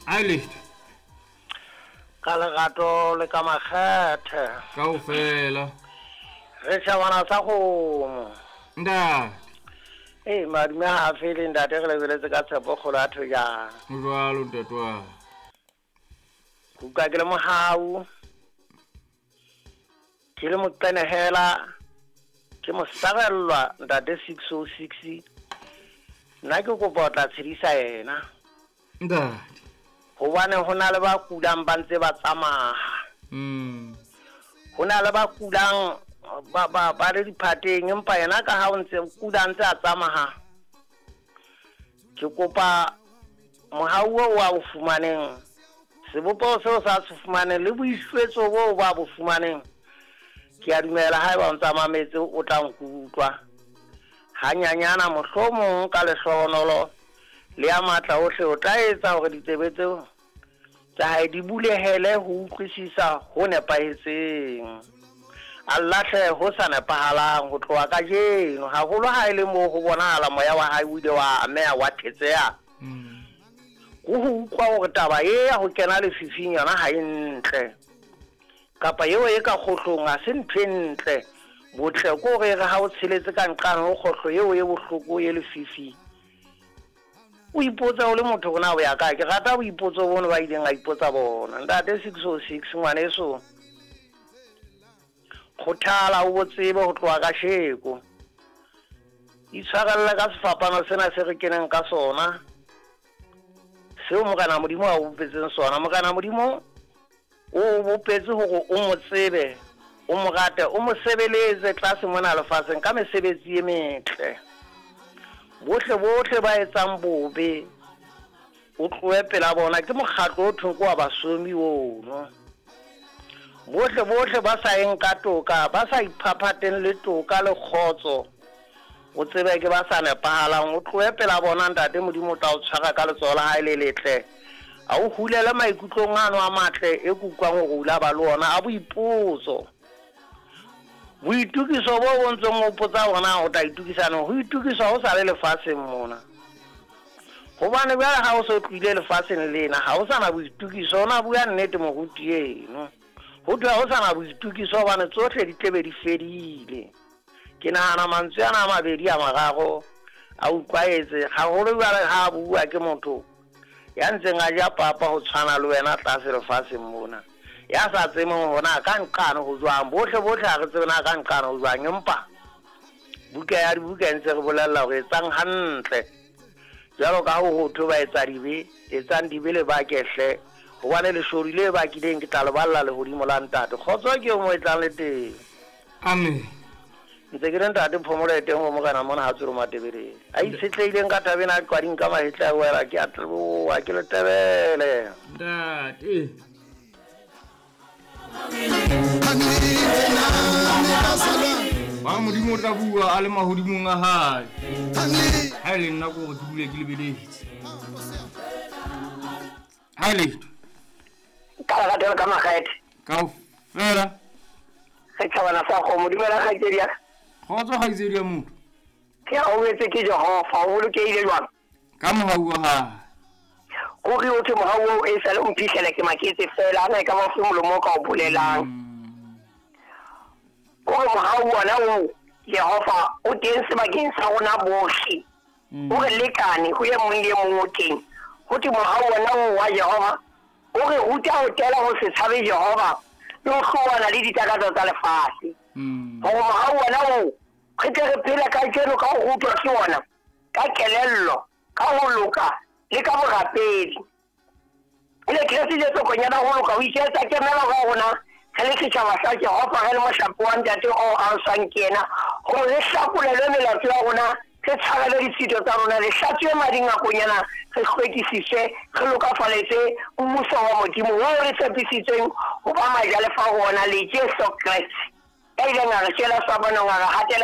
A lehto. Ka lerato le ka makgethe. Kaofela. Re tjhabana sa kgomo. Ntate. Ee, madume ha a fele ntate re lebeletse ka tshepo kgolo ya thojana. Ho jwalo ntate wa. Ke utlwa ke le mohau. Ke le moqenehela. Ke mosarellwa ntate 606. Nna ke kopa o tla tshedisa yena. Ntate. Hobane ho na le ba kulang ba ntse ba tsamaya. Ho na le ba kulang ba le diphateng, empa yena ka ha o ntse kula ntse a tsamaya. Ke kopa mohau oo a o fumaneng, sebopeho seo sa se fumaneng le boihlwetso boo ba bo fumaneng. Ke a dumela haeba o ntsa mametse o tla nkutlwa. Hanyanyana mohlomong ka lehlohonolo le ya matla ohle o tla etsa hore ditsebe tseo tsa hae di bulehele ho utlwisisa ho nepahetseng. A lahle ho sa nepahalang ho tloha kajeno, haholo ha e le moo ho bonahala moya wa hae o ile wa ameha wa thetseha. Ho ho utlwa hore taba e ya ho kena lefifing yona ha e ntle, kapa eo e ka kgohlong ha se ntho e ntle. Botle ke hore re ha o tsheletse ka nqane ho kgohlo eo e bohloko e lefifi, o ipotsa o le motho hore na o ya kae. Ke rata boipotso bono ba ileng a ipotsa bona. Ntate 606 ngwaneso, kgothala o bo tsebe ho tloha ka sheko. Itshwarelle ka sefapano sena se re keneng ka sona, seo Morena Modimo a o bopetseng sona. Morena Modimo o bopetse hore o mo tsebe, o mo rate, o mo sebeletse tlase mona lefatsheng ka mesebetsi e metle. Bohle bohle ba etsang bobe o tlohe pela bona, ke mokgatlo o thweng ke wa basomi ono. Bohle bohle ba sa eng ka toka, ba sa iphaphateng le toka le kgotso, o tsebe ke ba sa nepahalang. O tlohe pela bona ntate, Modimo o tla o tshwara ka letsoho la hae le letle, a o hulele maikutlong ano a matle e ke utlwang hore o ile a ba le ona a boipotso. Boitukiso bo bo ntseng o potsa hore na o tla itukisa neng, ho itukiswa ho sa le lefatsheng mona. Hobane jwale ha o so tlohile lefatsheng lena, ha ho sa na boitukiso. O na bua nnete moruti eno. Ho thwe ha ho sa na boitukiso hobane tsohle di tlebe di fedile. Ke nahana mantswe ana a mabedi a mararo a utlwaetse haholo jwale ha a bua ke motho ya ntseng a ja papa ho tshwana le wena tlase lefatsheng mona, ya sa tsebeng hore na ka nqane ho jwang. Bohle bohle ha re tsebe na ka nqane ho jwang, empa buka ya dibuka e ntse re bolella hore etsang hantle. Jwalo ka ho ho thwe ba etsa dibe, etsang dibe le bake hle, hobane leshodu le bakileng ke tla le balla lehodimo la ntate. Kgotso ke eo mo e tlang le teng. Amen. Ntse ke le ntate phomolo e teng ho Morena mona ha tswele Matebeleng. A itshetlehileng ka taba ena a qwading ka mahetla a wela, ke a tloha ke le tebele. Ntate. Ba Modimo o tla bua a le mahodimong a hae. Ha e le nna ke hore ke dule ke lebeletse. Ha e letho. Ka lerato le ka makgethe. Kaofela. Re tjhabana sa kgomo. Dumela kgaitsedi ya ka. Kgotso kgaitsedi ya motho. Ke a obetse ke Jehova, o bolokehile jwang? Ka mohau wa hae. Ruri o thwe mohau oo e sale o mphihlele ke maketse feela, ana e ka ba ofe molomo o ka o bolelang. Kore mohau wona oo Jehova o teng sebakeng sa rona bohle. O re lekane ho e mong le e mong o teng. Ho thwe mohau wona oo wa Jehova o re ruta ho tela ho se tshabe Jehova le ho hlowana le ditakatso tsa lefatshe. Hore mohau wona oo re tle re phele kajeno ka ho rutwa ke wona, ka kelello, ka ho loka le ka borapedi. Ele Kreste Jesu Konyana ho loka o iketsa kemelo ka rona re le setjhaba sa Jehova, re le mohlape wa Ntate o aloswang ke yena, hore re hlakolelwe melato ya rona, re tshwarelwe ditshito tsa rona, re hlatsuwe mading a Konyana, re hlwekisiswe, re lokafaletswe mmuso wa Modimo oo re tshepisitsweng ho ba majalefa ho ona le Jesu Kreste, ya ileng a re shwela sefapanong, a re hatela.